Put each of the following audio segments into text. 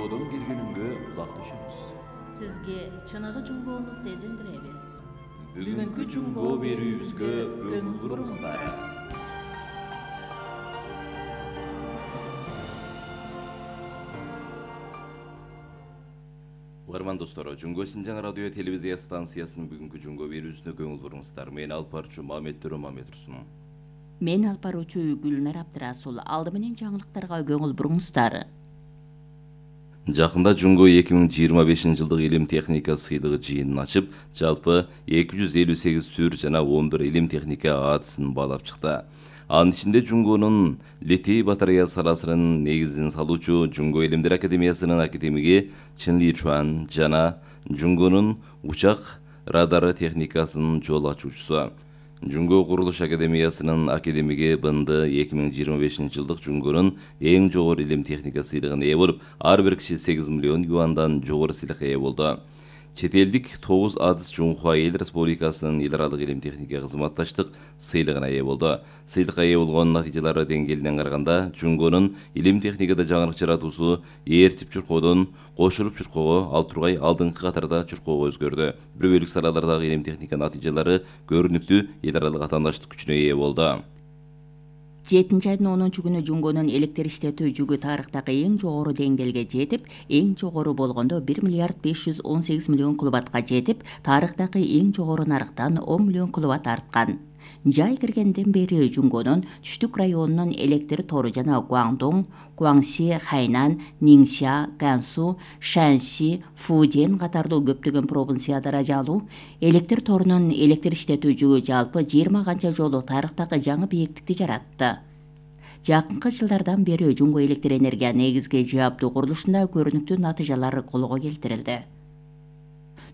жунгодон келгениңге улакташабыз. Сизге чыныгы жунгоону сезиндиребиз. Бүгүнкү жунгоо берүүбүзгө көңүл буруңуздар. Угарман достор, Жунгоо Синжаң радио телевизия станциясынын бүгүнкү жунгоо берүүсүнө көңүл буруңуздар. Мен алып баруучу Мамет Турсун. Мен алып баруучу Гүлнар Абдырасул. Алды менен жаңылыктарга көңүл буруңуздар. Жакында Жунгоо 2025-жылдык илим техника сыйлыгы жыйынын ачып, жалпы 258 түр жана 11 илим техника атысын баалап чыкты. Анын ичинде Жунгоонун литий батарея саласынын негизин салуучу Жунгоо Илимдер академиясынын академиги Чын Ли Чуан жана Жунгоонун учак радары техникасынын жол ачуучусу Жунгоо Курулуш академиясынын академиги Бынды 2025-жылдык Жунгоонун эң жогору илим техника сыйлыгына ээ болуп, ар бир киши 8 миллион юандан жогору сыйлыкка ээ болду. Чет элдик 9 адыс Жунхуа Эл Республикасынын эл аралык илим техника кызматташтык сыйлыгына ээ болду. Сыйлыкка ээ болгон натыйжалары деңгээлинен караганда Жунгоонун илим техникада жаңырык жаратуусу ээрчип чуркоодон кошулуп чуркоого, ал тургай алдыңкы катарда чуркоого өзгөрдү. Бир бөлүк салалардагы илим техника натыйжалары көрүнүктүү эл аралык атаандаштык күчүнө ээ болду. 7 айдын 10 күнү Жунгоонун электр иштетүү жүгү тарыхтагы эң жогору деңгээлге жетип, эң жогору болгондо 1 миллиард 518 миллион киловаттка жетип, тарыхтагы эң жогору нарыктан 10 миллион киловатт арткан. Жай киргенден бери Жунгоонун түштүк районунун электр тору жана Гуандong, Гуаңси, Хайнан, Ниңся, Гансу, Шанси, Фуден катарлуу көптөгөн провинцияда даражалуу электр торунун электр иштетүү жүгү жалпы 20 канча жолу тарыхтагы жаңы бийиктикти жаратты. Жакынкы жылдардан бери Жунгоо электр энергия негизги жааптуу курулушунда көрүнүктүү натыйжалар колго келтирилди.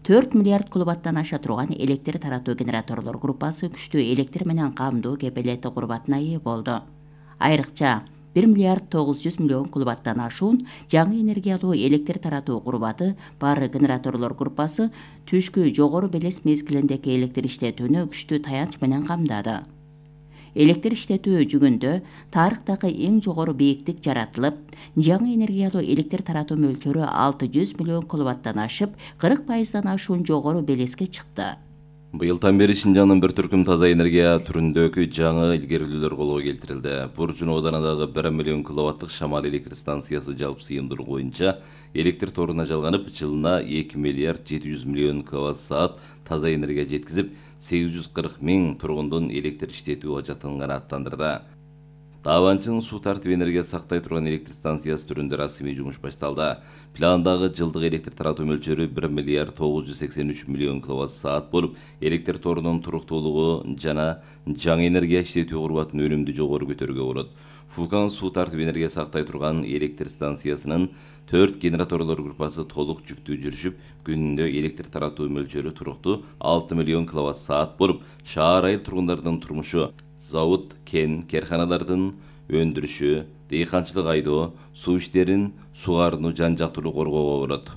4 миллиард киловаттан аша турган электр таратуу генераторлор группасы күчтүү электр менен камдоо кепилети курбатына ээ болду. Айрыкча 1 миллиард 900 миллион киловаттан ашуун жаңы энергиялуу электр таратуу курбаты бар генераторлор группасы түшкү жогору белес мезгилиндеги электр иштетүүнү күчтүү таянч менен камдады. Электр иштетүү жүгүндө тарыхтагы эң жогору бийиктик жаратылып, жаңы энергиялуу электр таратуу мөлчөрү 600 миллион киловаттан ашып, 40% ашуун жогору белеске чыкты. Быйылдан бери Шинжаңдын бир түркүм таза энергия түрүндөгү жаңы илгерилүүлөр колго келтирилди. Буржун ооданындагы 1 миллион киловаттык Шамал электр станциясы жалпы сыйымдуулугу боюнча электр торуна жалганып, жылына 2 миллиард 700 миллион киловатт-саат таза энергия жеткизип, 840 миң тургундун электр иштетүү ажатын канааттандырды. Табанчын суу тартып энергия сактай турган электр станциясы түрүндө расмий жумуш башталды. Пландагы жылдык электр таратуу мөлчөрү 1 миллиард 983 миллион киловатт-саат болуп, электр торунун туруктуулугу жана жаңы энергия иштетүү курбатын өнүмдүү жогору көтөрүүгө болот. Фукан суу тартып энергия сактай турган электр станциясынын 4 генераторлор группасы толук жүктүү жүрүшүп, күнүндө электр таратуу мөлчөрү туруктуу 6 миллион киловатт-саат болуп, шаар айыл тургундардын турмушу, завод, кен, карханалардын өндүрүшү, дыйканчылык айдоо, суу иштерин сугарууну жан-жактуулуу коргоого болот.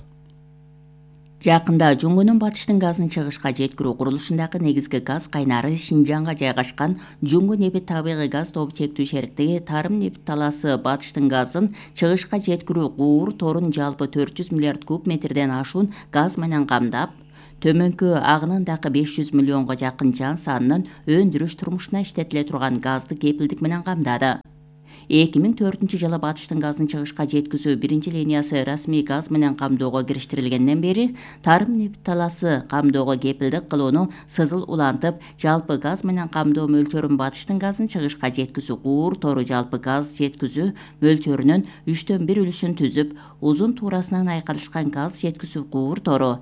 Жакында Жунгоонун батыштын газын чыгышка жеткирүү курулушундагы негизги газ кайнары Шинжаңга жайгашкан Жунгоо нефть табигый газ тобу чектүү шериктиги Тарым нефть талаасы батыштын газын чыгышка жеткирүү куур торун жалпы 400 миллиард куб метрден ашуун газ менен камдап, төмөнкү агынындагы 500 миллионго жакын жан санынын өндүрүш турмушуна иштетиле турган газды кепилдик менен камдады. 2004-жылы батыштын газын чыгышка жеткизүү биринчи линиясы расмий газ менен камдоого кириштирилгенден бери Тарым нефть талаасы камдоого кепилдик кылууну сызыл улантып, жалпы газ менен камдоо мөлчөрүн батыштын газын чыгышка жеткизүү куур тору жалпы газ жеткизүү мөлчөрүнүн 3/1 үлүшүн түзүп, узун туурасынан айкалышкан газ жеткизүү куур тору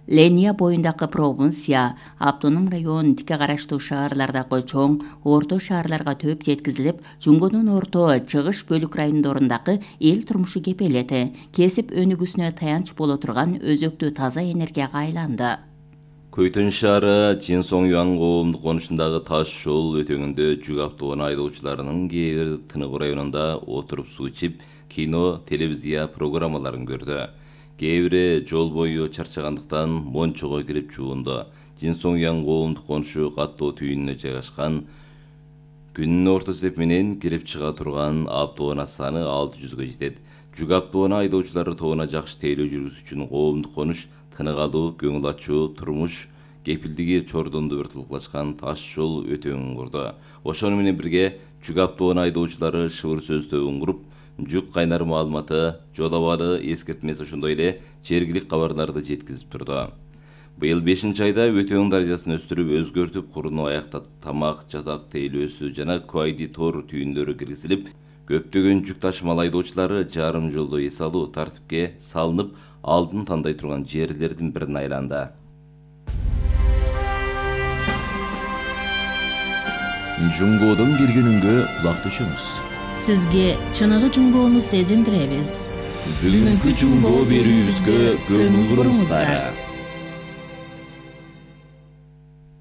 Ления боюндагы провинция, автоном район, тике караштуу шаарлардагы чоң, орто шаарларга төп жеткизилип, Жунгоонун орто чыгыш бөлүк райондорундагы эл турмушу кепелети, кесип өнүгүүсүнө таянч боло турган өзөктүү таза энергияга айланды. Көйтөн шаары Чинсоң-Юан коомдук конушундагы таш жол өтөңүндө жүк автоунаа айдоочуларынын кээ бир тыныгуу районунда отуруп суу ичип, кино, телевизия программаларын көрдү. Кээ бири жол бою чарчагандыктан мончого кирип жуунду. Чинсоң-Юан коомдук конушу каттоо түйүнүнө жайгашкан. Күнүнүн орто эсеп менен кирип чыга турган автоунаа саны 600гө жетет. жүк автоунаа айдоочулары тобуна жакшы тейлөө жүргүзүү үчүн коомдук конуш, тынык алуу, көңүл ачуу, турмуш кепилдиги Чордонду бір тылкылашкан таш жол өтөңүн курду. Ошону менен бирге жүк автоунаа айдоочулары шыбыр сөздөгүн куруп, жүк кайнар маалыматы, жол абалы эскертмеси ошондой эле жергилик кабарларды жеткизип турду. Быйыл 5-айда өтөң даражасын өстүрүп, өзгөртүп, курууну аяктап, тамак, жатак тейлөөсү жана Куайди тор түйүндөрү киргизилип, көптөгөн жүк ташымал айдоочулары жарым жолдо эс алуу тартипке салынып, алдын тандай турган жерлердин бирине айланды. Жунгоодон келген үнгө кулак төшөңүз. Сизге чыныгы жунгоону сезиндиребиз. Бүгүнкү жунгоо берүүбүзгө көңүл буруңуздар.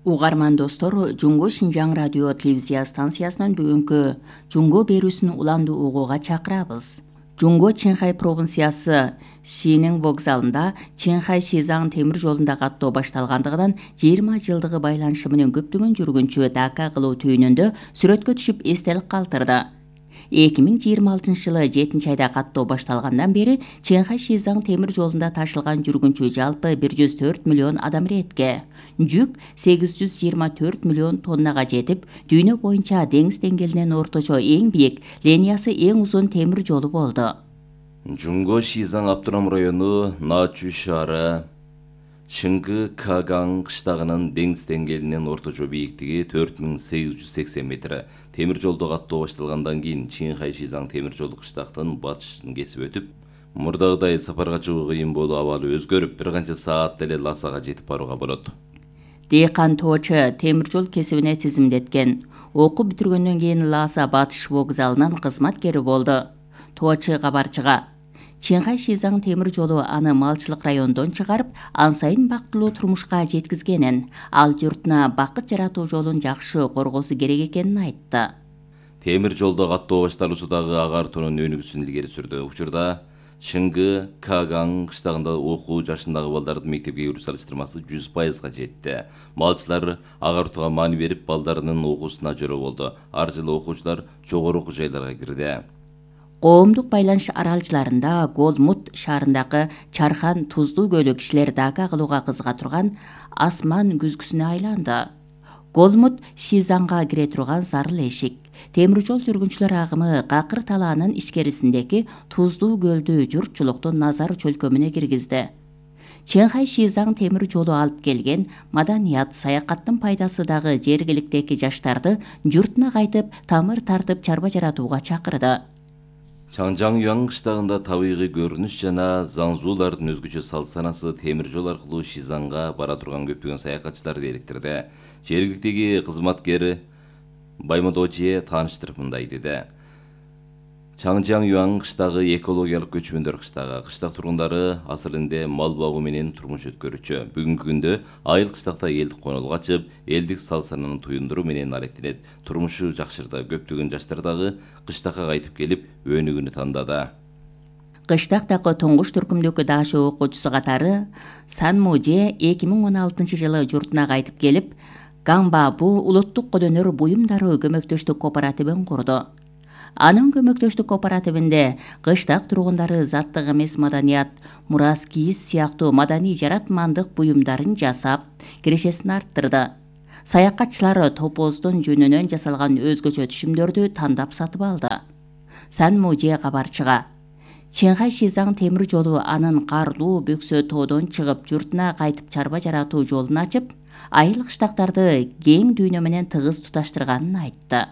Угарман достор, Жунго Шинжаң радио телевизия станциясынын бүгүнкү жунгоо берүүсүн уланды угууга чакырабыз. Жунго Чэнхай провинциясы Шинин вокзалында Чэнхай Шизаң темир жолунда каттоо башталгандыгынан 20 жылдыгы байланышы менен көптөгөн жүргүнчү дака кылуу түйүнүндө сүрөткө түшүп эстелик калтырды. 2026-жылы 7-айда каттоо башталгандан бери Чэнхай Шизаң темир жолунда ташылган жүргүнчү жалпы 104 миллион адам иретке. Жүк 824 миллион тоннага жетип, дүйнө боюнча деңиз деңгээлинен орточо эң бийик, линиясы эң узун темир жолу болду. Жунго Шизаң автоном району Начу шаары Шыңгы Кагаң кыштагынын деңиз деңгээлинен орточо бийиктиги 4880 метр. Темир жолдо каттоо башталгандан кийин Чэнхай Шизаң темир жолу кыштактын батышын кесип өтүп, мурдагыдай сапарга чыгуу кыйын болуу абалы өзгөрүп, бир канча саатта эле Ласага жетип барууга болот. Дейкан тоочу темир жол кесибине тизимдеткен. Окуу бүтүргөндөн кийин Ласа батыш вокзалынын кызматкери болду. Тоочу кабарчыга Чэнхай Шизаң темир жолу аны малчылык райондон чыгарып, ан сайын бактылуу турмушка жеткизгенин, ал журтуна бакыт жаратуу жолун жакшы коргоосу керек экенин айтты. Темир жолдо каттоо башталуусудагы агартуунун өнүгүүсүн илгери сүрдү. Учурда Шыңгы Кагаң кыштагында окуу жашындагы балдардын мектепке кирүү салыштырмасы 100%га жетти. Малчылар агартууга маани берип, балдарынын окуусуна жөрө болду. Ар жылы окуучулар жогору окуу жайларга кирди. Коомдук байланыш аралчыларында Голмут шаарындагы Чархан Туздуу көлү кишилер дака кылууга кызыга турган асман күзгүсүнө айланды. Голмут Шизаңга кире турган зарыл эшик. Темир жол жүргүнчүлөр агымы Какыр талаанын ичкерисиндеги Туздуу көлдү журтчулуктун назар чөлкөмүнө киргизди. Чэнхай Шизаң темир жолу алып келген маданият, саякаттын пайдасы дагы жергиликтеги жаштарды журтуна кайтып, тамыр тартып чарба жаратууга чакырды. Чаңжаң Юаң кыштагында табигый көрүнүш жана Заңзуулардын өзгөчө салт-санасы темир жол аркылуу Шизаңга бара турган көптөгөн саякатчыларды электирди. Жергиликтеги кызматкери Баймодожие тааныштырып мындай деди. Чаңжаң Юаң кыштагы экологиялык көчмөндөр кыштагы. Кыштак тургундары асыл элинде мал багуу менен турмуш өткөрүчү. Бүгүнкү күндө айыл кыштакта элдик конолго ачып, элдик салт-сананы туюндуруу менен аректенет. Турмушу жакшырды. Көптөгөн жаштар дагы кыштакка кайтып келип, өнүгүүнү тандады. Кыштактагы туңгуш түркүмдөгү дашы окуучусу катары Санмуже 2016-жылы журтуна кайтып келип, Гамбабу улуттук колөнөр буюмдары көмөктөштүк кооперативин курду. Анын көмөктөштүк кооперативинде кыштак тургундары заттык эмес маданият, мурас кийиз сыяктуу маданий жаратмандык буюмдарын жасап, кирешесин арттырды. Саякатчылар топоздун жүнүнөн жасалган өзгөчө түшүмдөрдү тандап сатып алды. Санмуже кабарчыга Чэнхай Шизаң темир жолу анын карлуу бөксө тоодон чыгып журтуна кайтып чарба жаратуу жолун ачып, айыл кыштактарды кең дүйнө менен тыгыз туташтырганын айтты.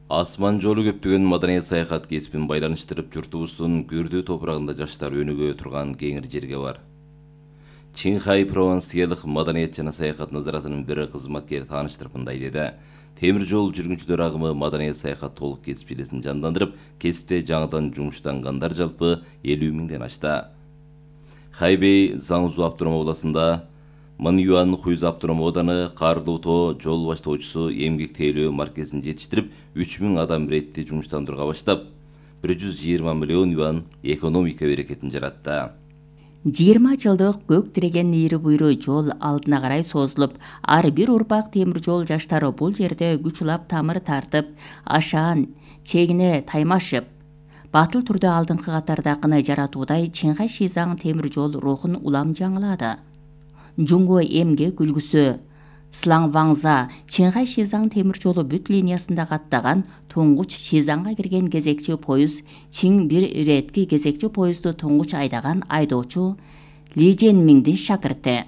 Асман жолу көптөгөн маданият саякат кесибин байланыштырып, журтубуздун күрдүү топурагында жаштар өнүгө турган кеңир жерге бар. Чэнхай провинциялык маданият жана саякат назаратынын бири кызматкери тааныштырып мындай деди. Темир жол жүргүнчүлөр агымы маданият саякат толук кесип желесин жандандырып, кесипте жаңыдан жумуштангандар жалпы 50 миңден ашты. Хайбей Заңзу автоном областында Манюан Хуйз автоном ооданы Карлуу тоо жол баштоочусу эмгек тейлөө маркезин жетиштирип, 3000 адам иретти жумуштандырууга баштап, 120 миллион юан экономика берекетин жаратты. 20 жылдык көк тиреген ийри буйру жол алдына карай созулуп, ар бир урпак темир жол жаштары бул жерде күч улап тамыр тартып, ашаан чегине таймашып, Батыл түрдө алдыңкы катардакыны жаратуудай Чиңхай Шизаң темир жол рухун улам жаңылады. Жунго эмгек үлгүсү Слаңваңза Чиңхай Шизаң темир жолу бүт линиясында каттаган туңгуч Шизаңга кирген кезекчи поезд Чиң бир иретки кезекчи поездду туңгуч айдаган айдоочу Ли Жэнмиңдин шакырты.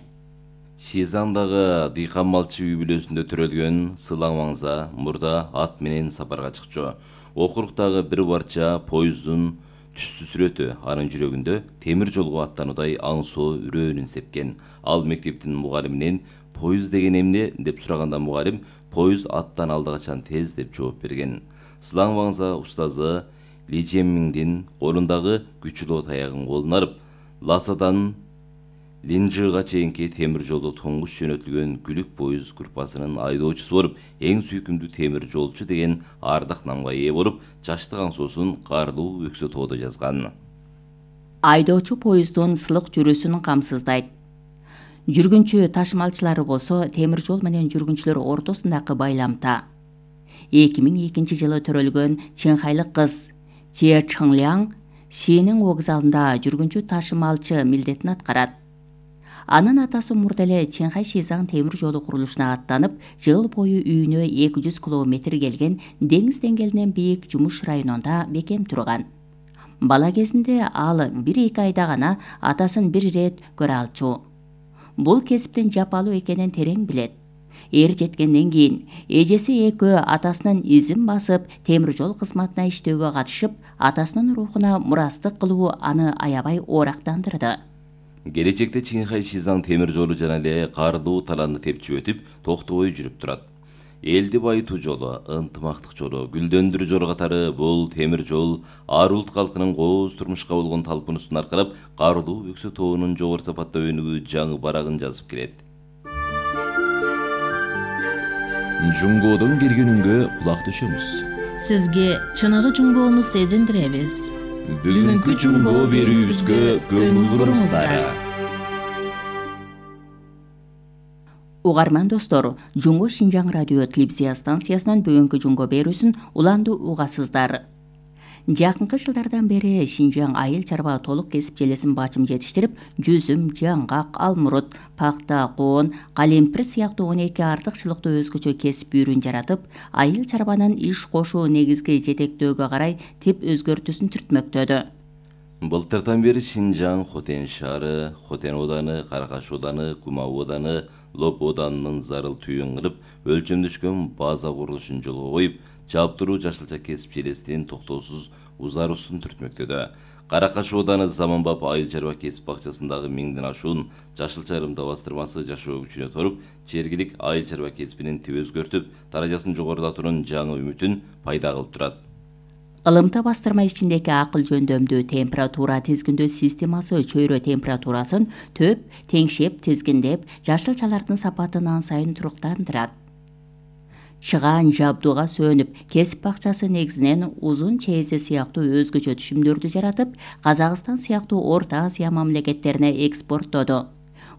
Шизаңдагы дыйкан малчы үй бүлөсүндө төрөлгөн Слаңваңза мурда ат менен сапарга чыкчу. Окуруктагы бир барча поезддун түстүү сүрөтү анын жүрөгүндө темир жолго аттануудай аңсоо үрөөнүн сепкен. Ал мектептин мугалиминен поезд деген эмне деп сураганда мугалим поезд аттан алдыгачан тез деп жооп берген. Слаңваңза устазы Ли Жэнмиңдин колундагы күчүлүү таягын колуна алып, Ласадан Линжига чейинки темир жолдо туңгуч жөнөтүлгөн күлүк поезд группасынын айдоочусу болуп, эң сүйкүмдүү темир жолчу деген ардак намга ээ болуп, жаштык аңсоосун каардуу өксө тоодо жазган. Айдоочу поезддун сылык жүрүүсүн камсыздайт. Жүргүнчү ташымалчылары болсо темир жол менен жүргүнчүлөр ортосундагы байламта. 2002 жылы төрөлгөн чыңхайлык кыз Че Чыңляң Шинин вокзалында жүргүнчү ташымалчы милдетин аткарат. Анын атасы мурда эле Чиңхай Шизаң темир жолу курулушуна аттанып, жыл бою үйүнө 200 километр келген деңиз деңгээлинен бийик жумуш районунда бекем турган. Бала кезинде ал 1-2 айда гана атасын бир ирет көрө алчу. Бул кесиптин жапалуу экенин терең билет. Эр жеткенден кийин эжеси экөө атасынын изин басып, темир жол кызматына иштөөгө катышып, атасынын рухуна мурастык кылуу аны аябай оорактандырды. Келечекте Чиңхай Шизаң темир жолу жана эле каардуу талааны тепчип өтүп, токтобой жүрүп турат. Элди байытуу жолу, ынтымактык жолу, гүлдөндүрүү жолу катары бул темир жол ар улут калкынын кооз турмушка болгон талпынуусун аркалап, каардуу өксө тоонун жогору сапаттуу өнүгүү жаңы барагын жазып келет. Жунгодон келгенүнгө кулак төшөңүз. Сизге чыныгы жунгоону сезиндиребиз. Бүгүнкү жунгоо берүүбүзгө көңүл буруңуздар. Угарман достор, Жунго Шинжаң радио телевизия станциясынын бүгүнкү жунго берүүсүн уланды угасыздар. Жакынкы жылдардан бери Шинжаң айыл чарба толук кесип желесин бачым жетиштирип, жүзүм, жаңгак, алмурут, пакта, коон, калемпир сыяктуу 12 артыкчылыктуу өзгөчө кесип үйрүн жаратып, айыл чарбанын иш кошуу негизги жетектөөгө карай тип өзгөртүүсүн түртмөктөдү. Былтырдан бери Шинжаң Хотен шаары, Хотен ооданы, Каракаш ооданы, Кумау ооданы, Лоп оодарынын зарыл түйүн кылып, өлчөмдөшкөн база курулушун жолго коюп, жаптыруу жашылча кесип желесинин токтоосуз узаруусун түртмөктөдө. Каракаш ооданы Заманбап айыл чарба кесип бакчасындагы 1000ден ашуун жашылча ырымда бастырмасы жашоо күчүнө торуп, чергилик айыл чарба кесибинин тип өзгөртүп, даражасын жогорулатуунун жаңы үмүтүн пайда кылып турат. Ылымта бастырма ичиндеги акыл жөндөмдүү температура тизгиндөө системасы чөйрө температурасын төп, теңшеп, тизгиндеп, жашылчалардын сапатын ан сайын туруктандырат. Чыгаан жабдууга сөнүп, кесип бакчасы негизинен узун чейзе сыяктуу өзгөчө түшүмдөрдү жаратып, Казакстан сыяктуу Орто Азия мамлекеттерине экспорттоду.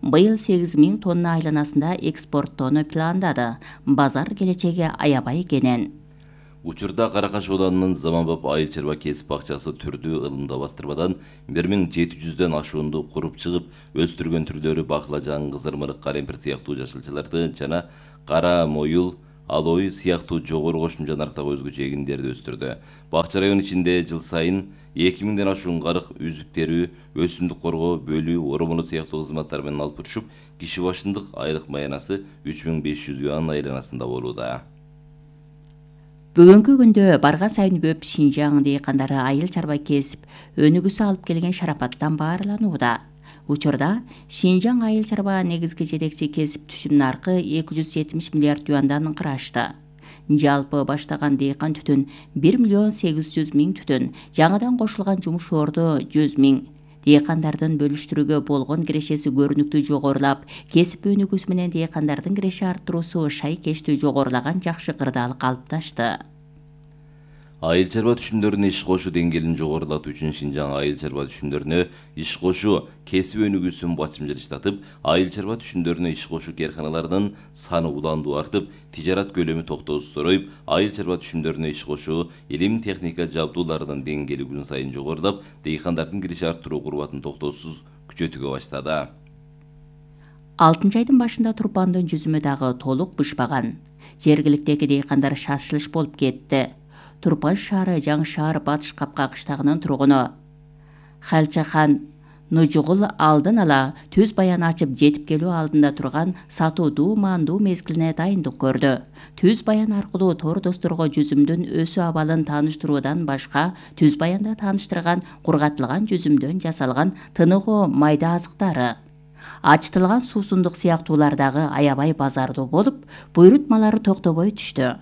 Быйыл 8000 тонна айланасында экспорттоону пландады. Базар келечеги аябай кенен. Учурда Каракаш оодарынын Заманбап айыл чарба кесип бакчасы түрдүү ылымда бастырмадан 1700дөн ашуунду куруп чыгып, өстүргөн түрлөрү баклажан, кызырмырык, калемпир сыяктуу жашылчаларды жана кара моюл, алой сыяктуу жогору кошумча нарктагы өзгөчө эгиндерди өстүрдү. Бакча район ичинде жыл сайын 2000ден ашуун карык, үзүк терүү, өсүмдүк коргоо, бөлүү, оромоло сыяктуу кызматтар менен алып турушуп, киши башындык айлык маянасы 3500 юан айланасында болууда. Бүгүнкү күндө барган сайын көп Шинжаң дыйкандары айыл чарба кесип өнүгүүсү алып келген шарапаттан баарланууда. Учурда Шинжаң айыл чарба негизги жетекчи кесип түшүм наркы 270 миллиард юандан кырашты. Жалпы баштаган дыйкан түтүн 1.800.000 түтүн, жаңадан кошулган жумуш орду 100.000. Дыйкандардын бөлүштүрүүгө болгон кирешеси көрүнүктүү жогорулап, кесип өнүгүүсү менен дыйкандардын киреше арттыруусу шайкештүү жогорулаган жакшы кырдаал калыпташты. Айыл чарба түшүмдөрүнө иш кошуу деңгээлин жогорулатуу үчүн Шинжаң айыл чарба түшүмдөрүнө иш кошуу кесип өнүгүүсүн басым жылыштатып, айыл чарба түшүмдөрүнө иш кошуу кээрканаларынын саны уланду артып, тижарат көлөмү токтоосуз зороюп, айыл чарба түшүмдөрүнө иш кошуу илим техника жабдууларынын деңгээли күн сайын жогорулап, дейкандардын кириш арттыруу курбатын токтоосуз күчөтүүгө баштады. 6 айдын башында Турпандын жүзүмү дагы толук бышпаган. Жергиликтеги дейкандар шашылыш болуп кетти. Турпан шаары Жаңы шаар Батыш Капка кыштагынын тургуну Халчахан Нужугул алдын ала түз баян ачып жетип келүү алдында турган сатуудуу маандуу мезгилине дайындык көрдү. Түз баян аркылуу тор досторго жүзүмдүн өсүү абалын тааныштыруудан башка, түз баянда тааныштырган кургатылган жүзүмдөн жасалган тыныгуу майда азыктары, ачытылган суусундук сыяктуулар дагы аябай базардуу болуп, буйрутмалары токтобой түштү.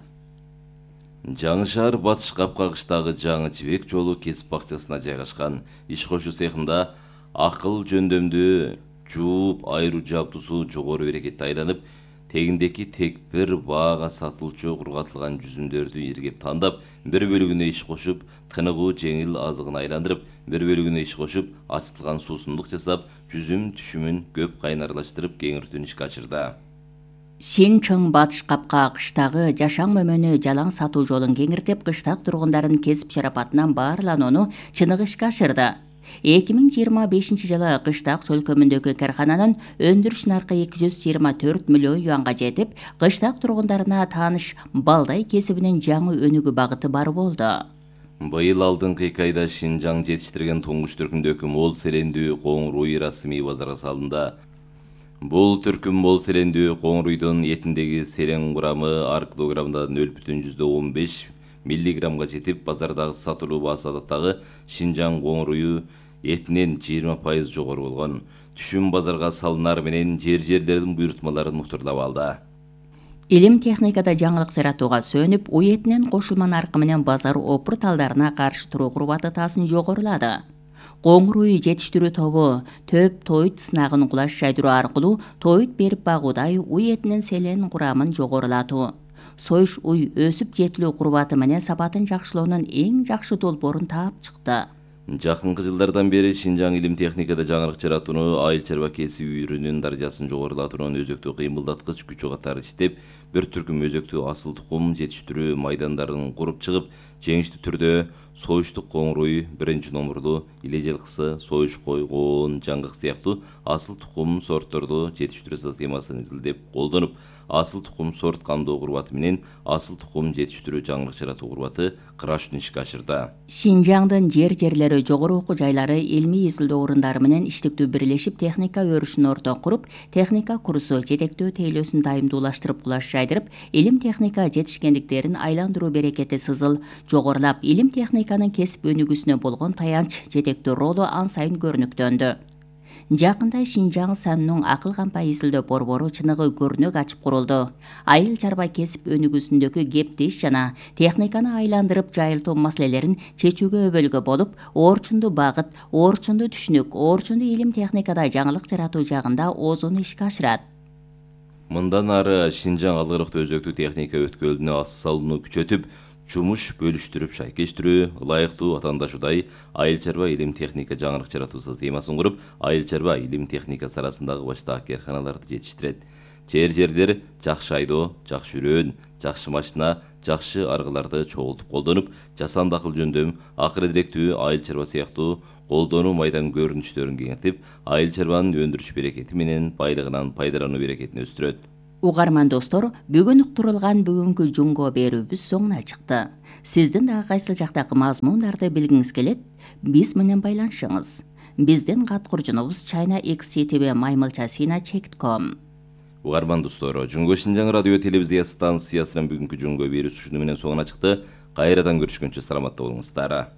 Жаңы шаар Батыш Капка кыштагы жаңы жибек жолу кесип бакчасына жайгашкан. Иш кошуу цехинда акыл жөндөмдүү жууп айыруу жабдуусу жогору берекетти айланып, тегиндеки тек бир баага сатылчу кургатылган жүзүмдөрдү иргеп тандап, бир бөлүгүнө иш кошуп, тыныгуу жеңил азыгын айландырып, бир бөлүгүнө иш кошуп, ачытылган суусундук жасап, жүзүм түшүмүн көп кайнарлаштырып, кеңиртүүнү ишке ашырды. Шинчың Батыш Капка кыштагы жашаң мөмөнү жалаң сатуу жолун кеңиртип, кыштак тургундардын кесип шарапатынан баарланууну чыныгы ишке ашырды. 2025 жылы кыштак сөлкөмүндөгү каархананын өндүрүш наркы 224 миллион юанга жетип, кыштак тургундарына тааныш балдай кесибинин жаңы өнүгүү багыты бар болду. Быйыл алдыңкы 2 айда Шинжаң жетиштирген туңгуч түркүмдөгү мол селендүү коңур уй расмий базарга салынды. Бул түркүм мол селендүү коңур уйдун этиндеги селен курамы ар килограммда 0,15 миллиграммга жетип, базардагы сатылуу баасы адаттагы Шинжаң коңур уйу этинен 20% жогору болгон. Түшүм базарга салынар менен жерлердин буйрутмаларын муктурлап алды. Илим техникада жаңылык жаратууга сөнүп, уй этинен кошулма наркы менен базар опур талдарына каршы туруу курбаты таасын жогорулады. Коңур уй жетиштирүү тобу төп тоют сынагын кулаш жайдыруу аркылуу тоют берип багуудай уй этинин селен курамын жогорулатуу, союш уй өсүп жетилүү курбаты менен сапатын жакшылоонун эң жакшы долбоорун таап чыкты. Жакынкы жылдардан бери Шинжаң илим техникада жаңылык жаратууну, айыл чарба кесип үйрөнүүнүн даражасын жогорулатуунун өзөктүү кыймылдаткыч күчү катары иштеп, бир түркүм өзөктүү асыл тукум жетиштирүү майдандарын куруп чыгып, жеңиштүү түрдө союштук коңур уй, биринчи номурлуу, иле жылкысы, союш кой, коон, жаңгак сыяктуу асыл тукум сортторду жетиштирүү системасын изилдеп колдонуп, асыл тукум сорт камдоо курбаты менен асыл тукум жетиштирүү жаңылык жаратуу курбаты кырашууну ишке ашырды. Шинжаңдын жерлери жогору окуу жайлары илмий изилдөө орундары менен иштиктүү бирлешип техника өрүшүн орто куруп, техника курсу жетектөө тейлөөсүн дайымдуулаштырып кулаш жайдырып, илим техника жетишкендиктерин айландыруу берекети сызыл жогорулап, илим техниканын кесип өнүгүүсүнө болгон таянч жетектөө ролу ан сайын көрүнүктөндү. Жакында Шинжаң санынын акыл кампай изилдөө борбору чыныгы көрнөк ачып курулду. Айыл чарба кесип өнүгүүсүндөгү кептеш жана техниканы айландырып жайылтуу маселелерин чечүүгө өбөлгө болуп, орчундуу багыт, орчундуу түшүнүк, орчундуу илим техникада жаңылык жаратуу жагында оозун ишке ашырат. Мындан ары Шинжаң алгырыктуу өзөктүү техника өткөлүнө ас салууну күчөтүп, жумуш бөлүштүрүп шайкештирүү, ылайыктуу атаандашуудай айыл чарба илим техника жаңылык жаратуу системасын куруп, айыл чарба илим техникасы арасындагы баштаак кээрканаларды жетиштирет. Жерлер жакшы айдоо, жакшы үрөөн, жакшы машина, жакшы аргыларды чогултуп колдонуп, жасанды акыл жөндөм, акыры директүү айыл чарба сыяктуу колдонуу майдан көрүнүштөрүн кеңейтип, айыл чарбанын өндүрүш берекети менен байлыгынан пайдалануу берекетин өстүрөт. Угарман достор, бүгүн уктурулган бүгүнкү жунго берүүбүз соңуна чыкты. Сиздин дагы кайсыл жактагы мазмундарды билгиңиз келет, биз менен байланышыңыз. Биздин кат курчунубуз china@maymilcha.sina.com. Угарман достор, Жунго Шинжаң радио телевизия станциясынын бүгүнкү жунго берүүсү ушуну менен соңуна чыкты. Кайрадан көрүшкөнчө саламатта болуңуздар.